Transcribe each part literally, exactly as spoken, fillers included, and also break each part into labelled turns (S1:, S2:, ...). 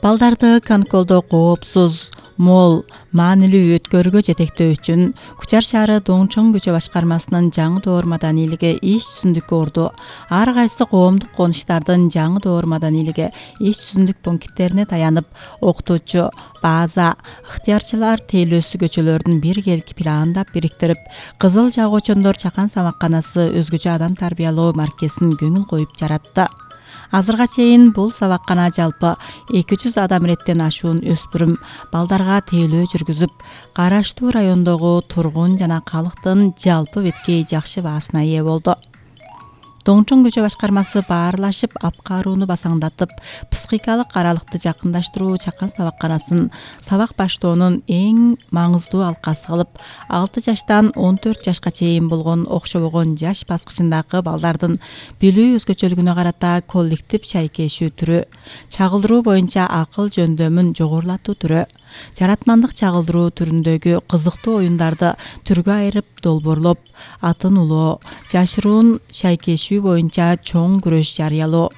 S1: Балдарды конколдо коопсуз, мол, маанилүү өткөрүүгө жетектөө үчүн Кучар шаары Доңчоң көчө башкармасынын жаңы доор маданийлиги иш жүзүндүккө урду. Ар кайсы коомдук конуштардын жаңы доор маданийлиги иш жүзүндүк пункттерине таянып, окутуучу, база, ыктыярчылар тейлөөсү көчөлөрдүн биргелки пландап бириктирип, Кызыл Жагуучондор чакан сабакканасы өзгөчө адам тарбиялоо маркесин көңүл коюп жаратты. Азырга чейин бул сабаккана жалпы эки жүз адам иреттен ашуун өспүрүм балдарга тейлөө жүргүзүп, караштуу райондогу тургун жана калктын жалпы беткей жакшы баасына ээ болду. Доңчоң көчө башкармасы баарлашып, апкарууну басаңдатып, психикалык аралыкты жакындаштыруу чакан сабакканасын сабак баштоонун эң маңыздуу алкасы кылып, алты жаштан он төрт жашка чейин болгон окшобогон жаш баскычындагы балдардын билүү өзгөчөлүгүнө карата коллектив шайкешүү түрү, чагылдыруу боюнча акыл жөндөмүн жогорулатуу түрү, жаратмандык чагылдыруу түрүндөгү кызыктуу оюндарды түргө айырып долбоорлоп, атын улоо, жашыруун шайкешүү боюнча чоң күрөш жарыялоо,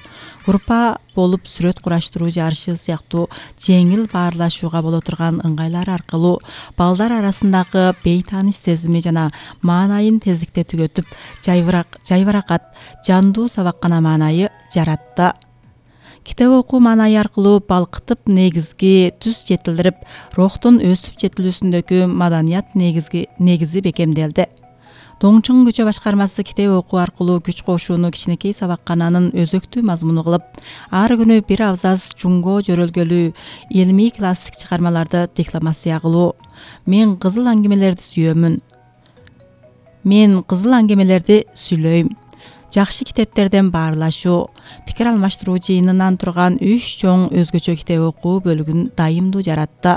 S1: группа болуп сүрөт кураштыруу жарышы сыяктуу жеңил баарлашууга боло турган ыңгайлар аркылуу балдар арасындагы бейтааныш сезими жана маанайын тездикте түгөтүп, жайбырак, жайбаракат, жандуу сабаккана маанайы жаратты. Китеп окуу маанайы аркылуу балкытып негизги түз жетилдирип, рухтун өсүп жетилүүсүндөгү маданият негизги негизи бекемделди. Доңчоң көчө башкармасы китеп окуу аркылуу күч кошууну кичинекей сабаккананын өзөктүү мазмуну кылып, ар күнү бир абзац жунго жөрөлгөлүү илмий классик чыгармаларды декламация кылуу. Мен кызыл аңгемелерди сүйөмүн. Мен кызыл аңгемелерди сүйлөйм. Жакшы китептерден баарлашуу, пикир алмаштыруу жыйынынан турган үч чоң өзгөчө китеп окуу бөлүгүн дайымдуу жаратты.